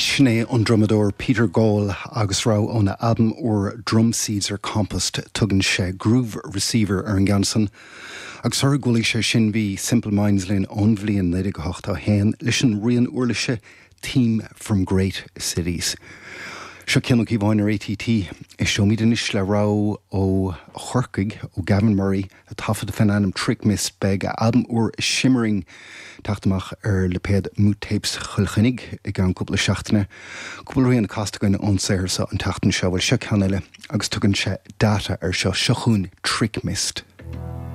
Sin é an drumadóir Peter Gall agus rogha óna albam úr Drum Seeds Are Compost. Tugann sé Groove Receiver ar an gceann san. Agus sular chualaidh sé sin bhí Simple Minds linn ón bhliain 1981 leis an rian uirlise Theme from Great Cities. Seo Cian Ó Cíobháin ar ATT. Éisteoimid anois le rogha ó Chorcaigh, ó Gavin Murray, a taifead fén ainm Trick Mist. Beidh a albam úr Shimmering ag teacht amach ar lipéad Moot Tapes Chill Chainnigh i gceann cúpla seachtaine. Cúpla rian casta againn ón saothar seo an tseachtain seo. Bhuel, seo ceann eile agus tugann sé Data air seo. Seo chugainn Trick Mist.